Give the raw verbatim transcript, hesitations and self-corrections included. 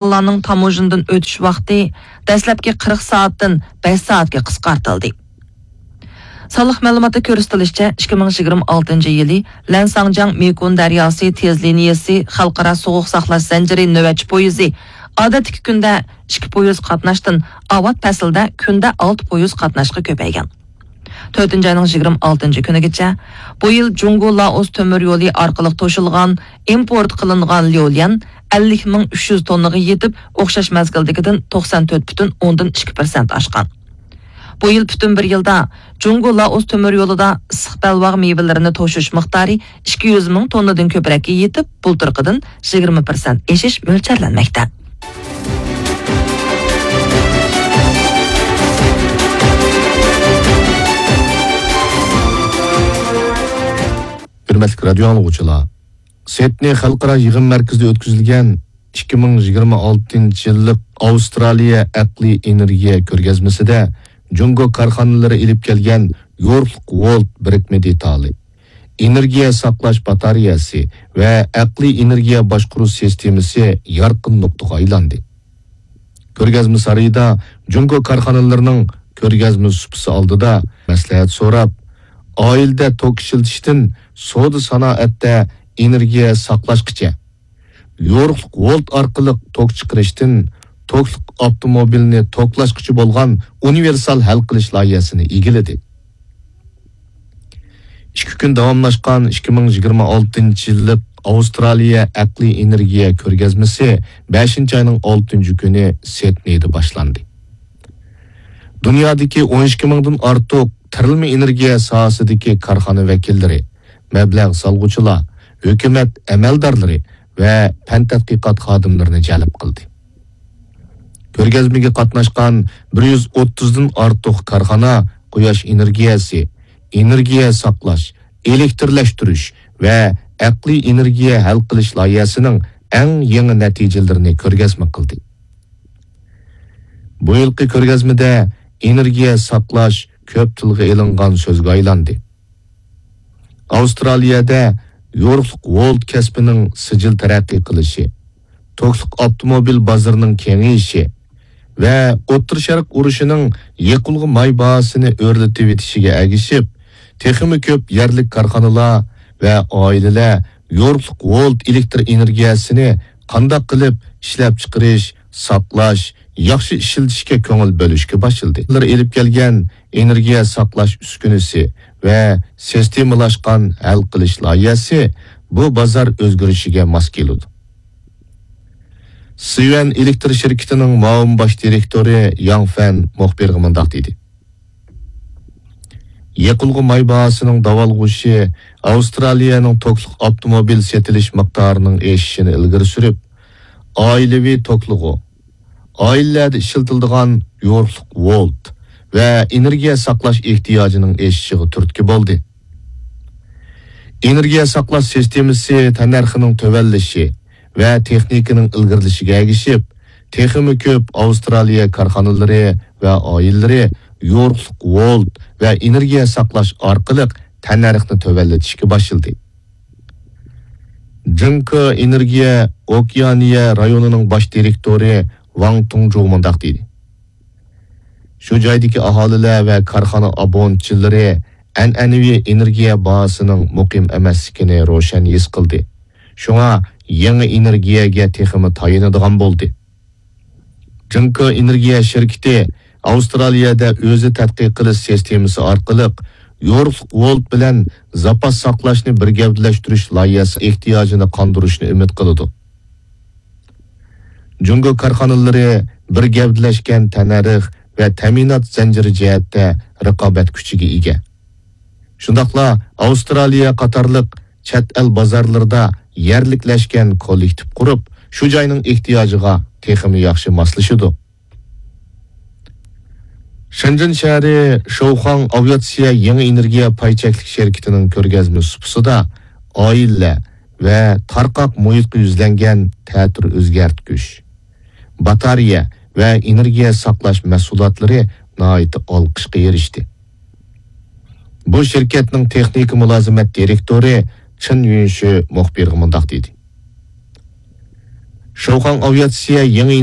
ماللارنىڭ تاموژنىدىن ئۆتۈش ۋاقتى دەسلەپكى قىرىق سائەتتىن بەش سائەتكە قىسقارتىلدى. سانلىق مەلۇماتتا كۆرسىتىلىشىچە، ئىككى مىڭ يىگىرمە ئالتىنچى يىلى لەنساڭجياڭ مېكون دەرياسى تېز لىنىيەسى خەلقئارا سوغۇق ساقلاش زەنجىرى نۆۋەتچى پويىزى ئادەتتىكى كۈندە ئىككى پويىز قاتناشتىن، ئاۋات پەسىلدە كۈندە ئالتە پويىز قاتناشقا كۆپەيگەن. تۆتىنچى ئاينىڭ يىگىرمە ئالتىنچى كۈنىگىچە بۇ يىل جۇڭگو لائوس تۆمۈر يولى ئارقىلىق توشۇلغان ئىمپورت قىلىنغان ليۇليەن ئەللىك مىڭ ئۈچ يۈز توننىغا يېتىپ، ئوخشاش مەزگىلدىكىدىن توقسان تۆت پۈتۈن ئوندىن ئىككى پىرسەنت ئاشقان. بۇ يىل پۈتۈن بىر يىلدا جۇڭگو لائوس تۆمۈر يولىدا ئىسسىق بەلباغ مېۋىلىرىنى توشۇش مىقدارى ئىككى يۈز مىڭ توننىدىن كۆپرەككە يېتىپ، بۇلتۇرقىدىن يىگىرمە پىرسەنت ئېشىش مۆلچەرلەنمەكتە. ھۆرمەتلىك رادىيو ئاڭلىغۇچىلار، سىدنېي خەلقئارا يىغىن مەركىزىدە ئۆتكۈزۈلگەن ئىككى مىڭ يىگىرمە ئالتىنچى يىللىق ئاۋسترالىيە ئەقلىي ئېنېرگىيە كۆرگەزمىسىدە جۇڭگو كارخانىلىرى ئېلىپ كەلگەن يورۇقلۇق ۋولت بىرىكمە دېتالى، ئېنېرگىيە ساقلاش باتارېيەسى ۋە ئەقلىي ئېنېرگىيە باشقۇرۇش سىستېمىسى يارقىن نۇقتىغا ئايلاندى. كۆرگەزمە سارىيىدا جۇڭگو كارخانىلىرىنىڭ كۆرگەزمە سۇپىسى ئالدىدا مەسلىھەت سوراپ، ئائىلىدە توك ئىشلىتىشتىن سودا سانائەتتە ئېنېرگىيە ساقلاشقىچە، يورۇقلۇق ۋولت ئارقىلىق توك چىقىرىشتىن توكلۇق ئاپتوموبىلنى توكلاشقىچە بولغان ئۇنىۋېرسال ھەل قىلىش لايىھەسىنى ئىگىلىدى. ئىككى كۈن داۋاملاشقان ئىككى مىڭ يىگىرمە ئالتىنچى يىللىق ئاۋسترالىيە ئەقلىي ئېنېرگىيە كۆرگەزمىسى بەشىنچى ئاينىڭ ئالتىنچى كۈنى سىدنېيدا باشلاندى. دۇنيادىكى ئون ئىككى مىڭدىن ئارتۇق تىرىلمە ئېنېرگىيە ساھەسىدىكى كارخانا ۋەكىللىرى، مەبلەغ سالغۇچىلار، ھۆكۈمەت ئەمەلدارلىرى ۋە پەن تەتقىقات خادىملىرىنى جەلپ قىلدى. كۆرگەزمىگە قاتناشقان بىر يۈز ئوتتۇزدىن ئارتۇق كارخانا قۇياش ئېنېرگىيەسى، ئېنېرگىيە ساقلاش، ئېلېكترلەشتۈرۈش ۋە ئەقلىي ئېنېرگىيە ھەل قىلىش لايىھەسىنىڭ ئەڭ يېڭى نەتىجىلىرىنى كۆرگەزمە قىلدى. بۇ يىلقى كۆرگەزمىدە ئېنېرگىيە ساقلاش كۆپ تىلغا ئېلىنغان سۆزگە ئايلاندى. ئاۋسترالىيەدە يورۇقلۇق ۋولت كەسپىنىڭ سىجىل تەرەققىي قىلىشى، توكلۇق ئاپتوموبىل بازىرىنىڭ كېڭىيىشى ۋە ئوتتۇرا شەرق ئۇرۇشىنىڭ يېقىلغۇ ماي باھاسىنى ئۆرلىتىۋېتىشىگە ئەگىشىپ، تېخىمۇ كۆپ يەرلىك كارخانىلار ۋە ئائىلىلەر يورۇقلۇق ۋولت ئېلېكتر ئېنېرگىيەسىنى قانداق قىلىپ ئىشلەپچىقىرىش، ساقلاش، ياخشى ئىشلىتىشكە كۆڭۈل بۆلۈشكە باشلىدى. ئۇلار ئېلىپ كەلگەن ئېنېرگىيە ساقلاش ئۈسكۈنىسى ۋە سىستېمىلاشقان ھەل قىلىش لايىھەسى بۇ بازار ئۆزگىرىشىگە ماس كېلىدۇ. سىۋەن ئېلېكتر شىركىتىنىڭ مۇئاۋىن باش دىرېكتورى ياڭ فەن مۇخبىرغا مۇنداق دېدى: يېقىلغۇ ماي باھاسىنىڭ داۋالغۇشى ئاۋسترالىيەنىڭ توكلۇق ئاپتوموبىل سېتىلىش مىقدارىنىڭ ئېشىشىنى ئىلگىرى سۈرۈپ، ئائىلىۋى توكلىغۇ، ئائىلىلەردە ئىشلىتىلىدىغان يورۇقلۇق ۋولت ۋە ئېنېرگىيە ساقلاش ئېھتىياجىنىڭ ئېشىشىغا تۈرتكە بولدى. ئېنېرگىيە ساقلاش سىستېمىسى تەننەرخىنىڭ تۆۋەنلىشى ۋە تېخنىكىنىڭ ئىلگىرىلىشىگە ئەگىشىپ، تېخىمۇ كۆپ ئاۋسترالىيە كارخانىلىرى ۋە ئائىلىلىرى يورۇقلۇق ۋولت ۋە ئېنېرگىيە ساقلاش ئارقىلىق تەننەرخنى تۆۋەنلىتىشكە باشلىدى. جىڭكې ئېنېرگىيە ئوكېئانىيە رايونىنىڭ باش دىرېكتورى ۋاڭ تۇڭجۇ مۇنداق دېدى: شۇ جايدىكى ئاھالىلەر ۋە كارخانا ئابۇنتچىلىرى ئەنئەنىۋى ئېنېرگىيە باھاسىنىڭ مۇقىم ئەمەسلىكىنى روشەن ھېس قىلدى. شۇڭا يېڭى ئېنېرگىيەگە تېخىمۇ تايىنىدىغان بولدى. جىڭكې ئېنېرگىيە شىركىتى ئاۋسترالىيەدە ئۆزى تەتقىق قىلىش سىستېمىسى ئارقىلىق يورۇقلۇق ۋولت بىلەن زاپاس ساقلاشنى بىر گەۋدىلەشتۈرۈش لايىھەسى ئېھتىياجىنى قاندۇرۇشنى ئۈمىد قىلىدۇ. جۇڭگو كارخانىلىرى بىر گەۋدىلەشكەن تەننەرخ ۋە تەمىنات زەنجىرى جەھەتتە رىقابەت كۈچىگە ئىگە. شۇنداقلا ئاۋسترالىيە قاتارلىق چەت ئەل بازارلىرىدا يەرلىكلەشكەن كوللېكتىپ قۇرۇپ، شۇ جاينىڭ ئېھتىياجىغا تېخىمۇ ياخشى ماسلىشىدۇ. شېنجېن شەھىرى شوخاڭ ئاۋىئاتسىيە يېڭى ئېنېرگىيە پاي چەكلىك شىركىتىنىڭ كۆرگەزمە سۇپىسىدا ئائىلىلەر ۋە تارقاق مۇھىتقا يۈزلەنگەن تەتۈر ئۆزگەرتكۈچ، باتارېيە ۋە ئېنېرگىيە ساقلاش مەھسۇلاتلىرى ناھايىتى ئالقىشقا ئېرىشتى. بۇ شىركەتنىڭ تېخنىكا مۇلازىمەت دىرېكتورى چېن يۈنشى مۇخبىرغا مۇنداق دېدى: شوخاڭ ئاۋىئاتسىيە يېڭى